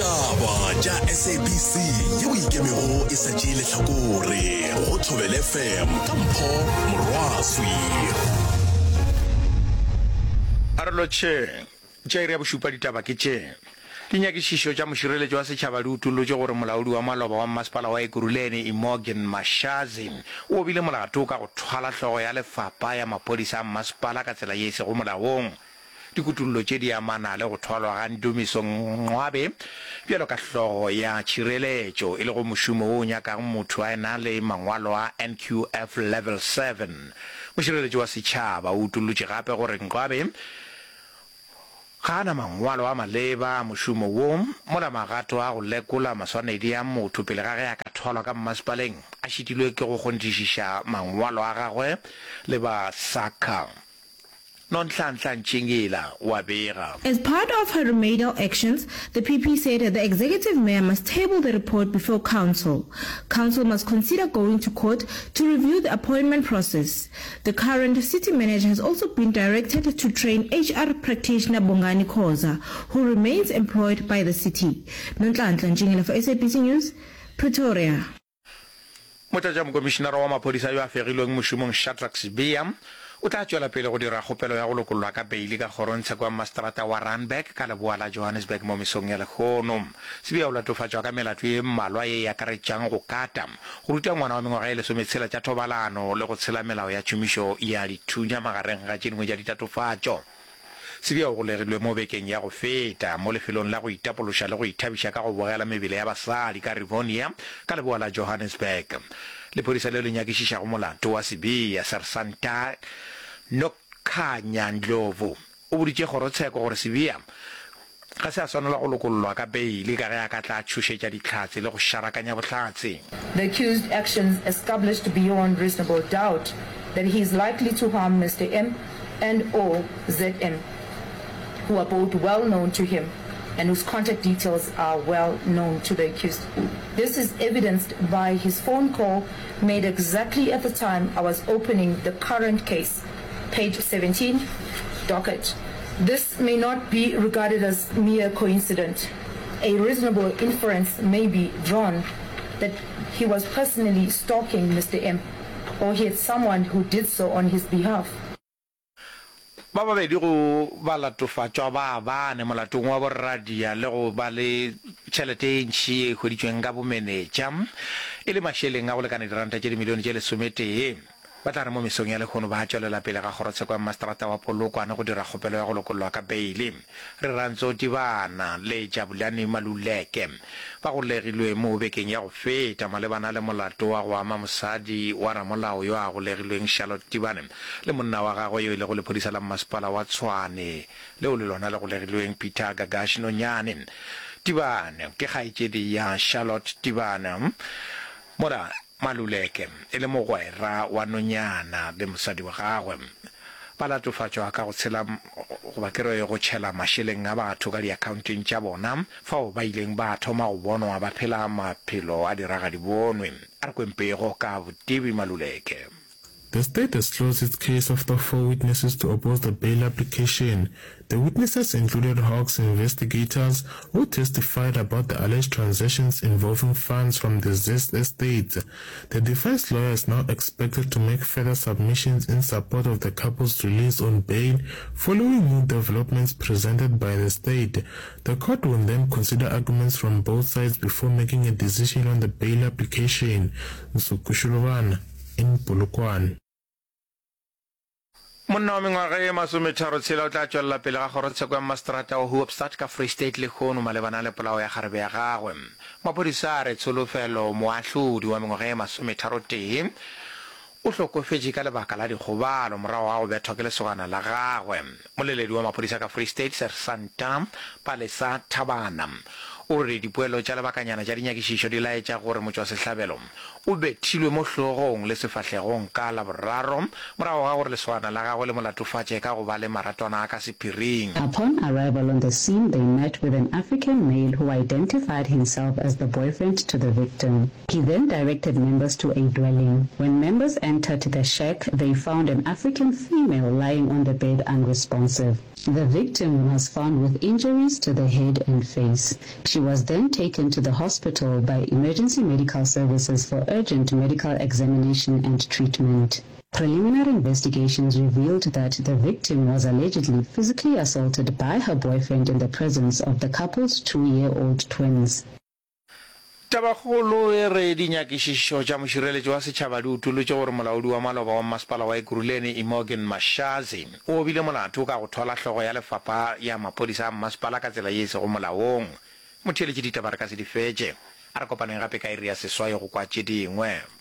Ditaba tša SABC yeo e ikemego e sa tšee lehlakore go Thobela FM ka Mpho Morwaswi. A re lotšheng. Tša iri ya bošupa ditaba ke tše. Dinyakišišo tša mošireletši wa setšhaba di utollotše gore molaodi wa maloba wa mmasepala wa Ekurhuleni Imogen Mashazi o obile molato ka go thwala hlogo ya lefapha ya maphodisa a mmasepala ka tsela ye e sego molaong. Dikutollo tše di amana le go thwalwa ga Ndumiso Ngcwabe bjalo ka hlogo ya tšhireletšo, e lego mošomo wo o nyakago motho a ena le mangwalo a NQF Level 7. Mošireletši wa setšhaba o utollotše gape gore Ngcwabe ga a na mangwalo a maleba a mošomo wo, mola magato a go lekola maswanedi a motho pele ga ge a ka thwalwa ka mmasepaleng a šitilwe ke go kgonthišiša mangwalo a gagwe le ba SACA. Nonhlanhla Ntšingila o a bega. As part of her remedial actions, the PP said the executive mayor must table the report before council. Council must consider going to court to review the appointment process. The current city manager has also been directed to train HR practitioner Bongani Khoza, who remains employed by the city. Nonhlanhla Ntšingila for SABC News, Pretoria. Motlatšamokomišinara wa maphodisa yo a fegilweng mošomong Shadrack Sibiya o tla tšwela pele go dira kgopelo ya go lokollwa ka beili ka kgorongtsheko ya mmaseterata wa Randburg ka leboa la Johannesburg mo mesong ya lehono. Sibiya o latofatšwa ka melato ye mmalwa ye e akaretšang go kata, go ruta ngwana wa mengwaga ye lesometshela tša thobalano le go tshela melao ya tšhomišo ya dithunya magareng ga tše dingwe tša ditatofatšo. Sibiya o golegilwe mo bekeng ya go feta mo lefelong la go itapološa le go ithabiša ka go bogela mebele ya basadi ka Rivonia ka leboa la Johannesburg. Lephodisa leo le nyakišišago molato wa Sibiya, Sersanta Nokhanya Ndlovu, o boditše kgorotsheko gore Sibiya ga se a swanela go lokollwa ka beili ka ge a ka tla tšhošetša dihlatse le go šarakanya bohlatse. The accused's actions established beyond reasonable doubt that he is likely to harm Mister M and or ZM, who are both well known to him and whose contact details are well known to the accused. This is evidenced by his phone call made exactly at the time I was opening the current case, page 17, docket. This may not be regarded as mere coincidence. A reasonable inference may be drawn that he was personally stalking Mr M or he had someone who did so on his behalf. Ba babedi go balatofatšwa ba bane molatong wa boradia le go ba le tšhelete ye ntši ye e hweditšweng ka bomenetša e le mašeleng a go lekana diranta tše dimilione tše lesometee. Ba tla re mo mesong ya lehono ba tšwelela pele ga kgorotsheko ya mmaseterata wa Polokwane go dira kgopelo ya go lokollwa ka beili. Rirantso Tibana le Jabulani Maluleke ba golegilwe mo bekeng ya go feta malebana le molato wa go ama mosadi wa ramolao yo a golegilweng Charlotte Tibane le monna wa gagwe yo e lego lephodisa la mmasepala wa Tshwane leo le lona le golegilweng Peter Gagash Nonyane. Tibane ke kgaetšedi ya Charlotte Tibane mola Maluleke e le mogwera wa nonyana le mosadi wa gagwe. Ba latofatšwa ka go tshela goba ke re go tšhela mašeleng a batho ka diakhaonteng tša bona fao ba ileng ba thoma go bonwa ba phela maphelo a diragadibonwe. A re kweng pego ka Botebi Maluleke. The state has closed its case after four witnesses to oppose the bail application. The witnesses included Hawks investigators who testified about the alleged transactions involving funds from the Zest estate. The defense lawyer is now expected to make further submissions in support of the couple's release on bail following new developments presented by the state. The court will then consider arguments from both sides before making a decision on the bail application. Nsukushulubana in Polokwane. Monna wa mengwaga ye masometharotshela o tla tšwelela pele ga kgorotsheko ya mmaseterata wa Hoopstad ka Free State lehono malebana le polao ya kgarebe ya gagwe. Maphodisa a re Tsholofelo Moahlodi wa mengwaga ye masometharotee o hlokofetše ka lebaka la dikgobalo morago ga go bethwa ke lesogana la gagwe. Moleledi wa maphodisa ka Free State Sersanta Palesa Thabana o re dipoelo tša lebakanyana tša dinyakišišo di laetša gore motšwasehlabelo o bethilwe mo hlogong le sefahlegong ka Laboraro morago ga gore lesogana la gagwe le mo latofatše ka go ba le maratwana a ka sephiring. Upon arrival on the scene they met with an African male who identified himself as the boyfriend to the victim. He then directed members to a dwelling. When members entered the shack they found an African female lying on the bed unresponsive. The victim was found with injuries to the head and face. She was then taken to the hospital by emergency medical services for urgent medical examination and treatment. Preliminary investigations revealed that the victim was allegedly physically assaulted by her boyfriend in the presence of the couple's two-year-old twins. Tabakgolo e re dinyakišišo tša mošireletši wa setšhaba di utolotše gore molaodi wa maloba wa mmasepala wa Ekurhuleni Imogen Mashazi o obile molato ka go thwala hlogo ya lefapha ya maphodisa a mmasepala ka tsela ye e sego molaong. Motheeletši ditaba re ka se di fetše. A re kopaneng gape ka iri ya seswai go kwa tše dingwe.